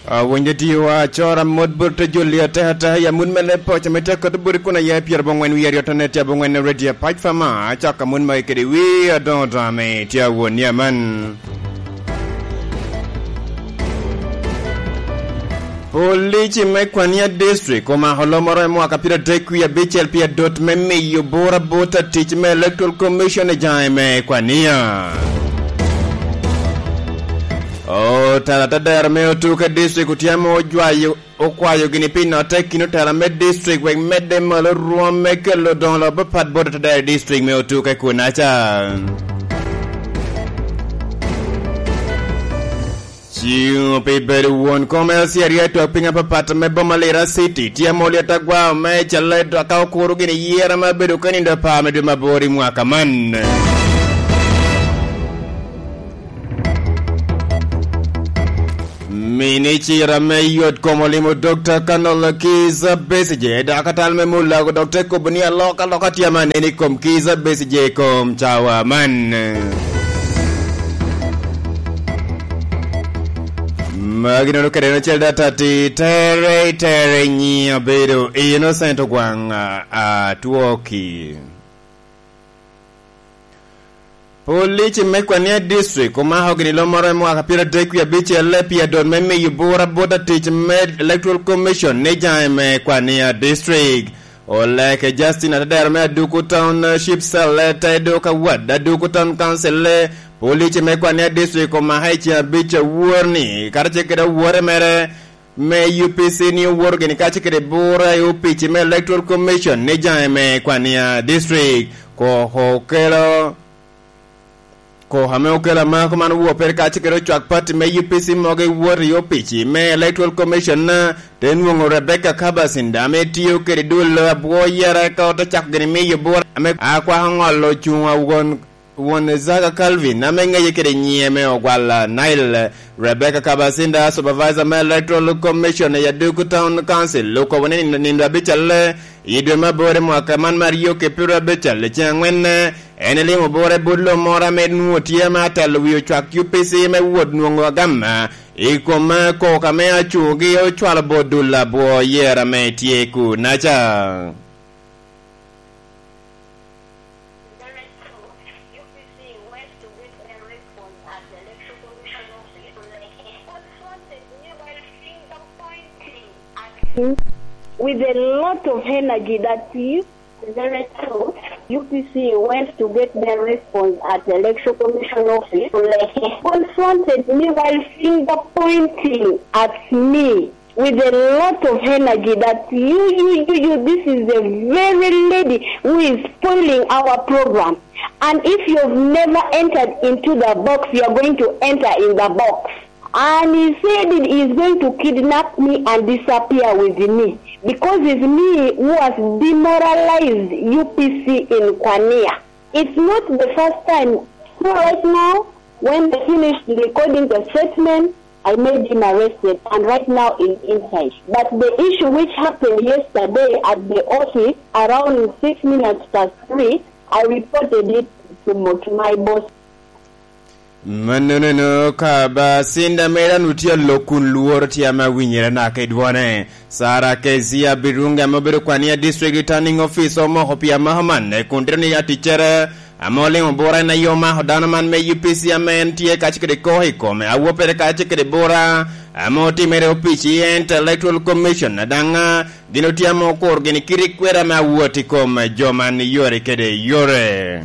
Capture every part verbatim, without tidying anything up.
Awinyo tio acora mot bot te joli atekata i amut me leb poco me tye akoto bot i kun aye pyerabongwen wie aryo tone tye abongwen radio pac fama acaka mut magi kede wi adoŋo doŋo ame tye awon ni aman. Polici me Kwania District omako lomoro i mwaka pire adek wie abicel pi adot me miyo bura bot atic me Electoral Commission i jaŋe me Kwania. Otara tadero me Otuke District otyemo ojwayo okwayo gini pi notte kin otara me district wek medde malo rwom me kelo doŋo lo papat bot otadero district me Otuke kunaca. Ciŋo pi bedo won kom L C R A twak piny apapat me boma Lira City tye amoli atagwa me cale ka okuro gini yera ma bedo ka nindo apar me dwe mabor i mwaka man. Minicita me yot kom olimo Dokta Kanol Kiza Besigye, dakatal me Mulago, dok te kobo ni alokaloka tye amanene i kom Kiza Besigye i kom cawa man. Magi nono kede en acel data ti tere tere nyi abedo innocent ogwaŋ atwoki. Police me Kwania District omako gini lomoro i mwaka pire adek wie abicel pi adot me miyo bura bot atic me Electoral Commission ni jaŋe me Kwania District. Oleke Justin Atadero me Aduku Township Cell te dok awad Aduku Town Council le Police me Kwania District omaka i ceng abic awor ni karacel kede awore mere me U P C ni owoto gini kacel kede bura i opici me Electoral Commission ni jaŋe me Kwania District. Koko okelo koko ame okelo amako man owopere kacel kede ocwak pati me U P C mogo i wot i opici me Electoral Commission, te nwoŋo Rebecca Kabasinda ame tiyo kede dul abwo yera ka ote cako gini miyo bura ame akwako ŋolo cuŋ awon Won Zaka Calvin ame ŋeye kede nyiŋe me Ogwal Nile, Rebecca Kabasinda, Supervisor me Electoral Commission i Aduku Town Council, okobo ni nindo, nindo abicalle i dwe me aboro i mwaka man me aryo ki pyeraryo abical i ceŋ aŋwen, en elimo bura i but lo moro ame nwoŋo tye ame atelo wi ocwak U P C me wot nwoŋo agama i kom koko ame acuŋogi ocwalo bot dul abwo yera ame tye kunaca. With a lot of energy that you, the very truth, U P C went to get their response at the Election Commission office, confronted me while finger pointing at me with a lot of energy that you, you, you, you, this is the very lady who is spoiling our program. And if you've never entered into the box, you are going to enter in the box. And he said he is going to kidnap me and disappear with me because it's me who has demoralized U P C in Kwania. It's not the first time. So right now, when they finished recording the statement, I made him arrested, and right now he's inside. But the issue which happened yesterday at the office around six minutes past three, I reported it to, mo- to my boss. Mannono ka ba sinda mera nu tye alok kun lworo tye ame awinyere naka i dwone. Sara Kezia Birungi ame obedo kwania district returning officer omoko pi amaka man kun tito ni aticcere ame olimo bura en aye omako dano man me U P C ame en tye kacel kede koko i kome awoppere kacel kede bura ame otimere opic i ente Electoral Commission daŋ gin otye ame okuro gini kit i kwero ame awot i kom jo man yore kede yore.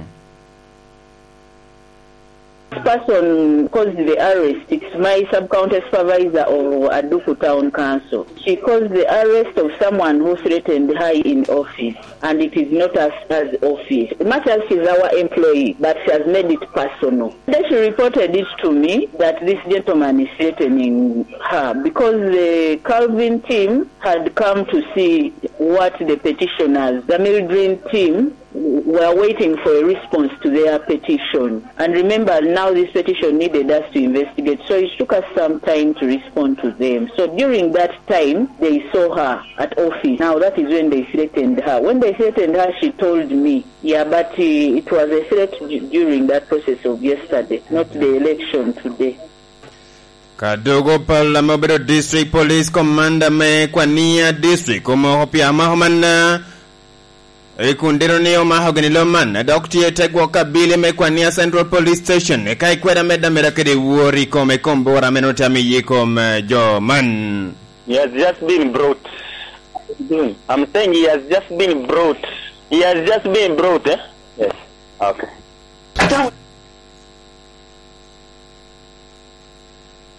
Person caused the arrest. It's my sub-county supervisor of Aduku Town Council. She caused the arrest of someone who threatened her in office, and it is not us as office. Much as she's our employee, but she has made it personal. Then she reported it to me that this gentleman is threatening her because the Calvin team had come to see what the petitioners, the Mildred team, were waiting for a response to their petition. And remember, now this petition needed us to investigate, so it took us some time to respond to them. So during that time, they saw her at office. Now that is when they threatened her. When they threatened her, she told me, yeah, but uh, it was a threat d- during that process of yesterday, not the election today. Ka dogo pala ame obedo District Police Commander me Kwania District omoko pia mako man, eh, i kun diro ni omako gini lo man, dok tye i te gwok abili me Kwania Central Police Station, eka ikweda medda meda kede wor i kome kombora ame nongo tye amiye i kom, eh, jo man. He has just been brought. I'm saying he has just been brought. He has just been brought, eh? Yes. Okay.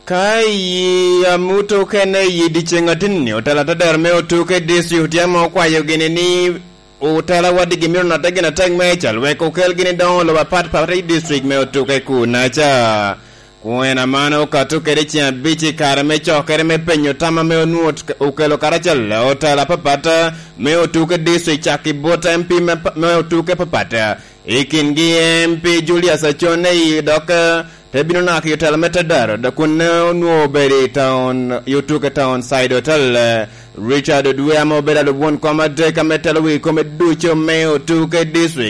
Ka i amut okene i dyeceŋ atinni, otela te dero me otuke district otye ame okwayo gini ni otela wadigi myero notte gin atek me cal wek okel gini doŋo lobo apat pat i district me otuke kunaca. Kun en amano okato kede ceŋ abic i kare me cokere me penyo tam ame onwoŋo ot-, okelo karacel otela apapat me otuke district cak i bot M P me, me otuke apapat. I kingi M P Julius Acone i dok, eh, te bino naka i otela me Tadaro, dok kun, eh, onwoŋo obedo i taun, i otuke taun Side Hotel, eh, Richard Odwe ame obedo alub won kom adek ame telo wi kome ducu me otuke district.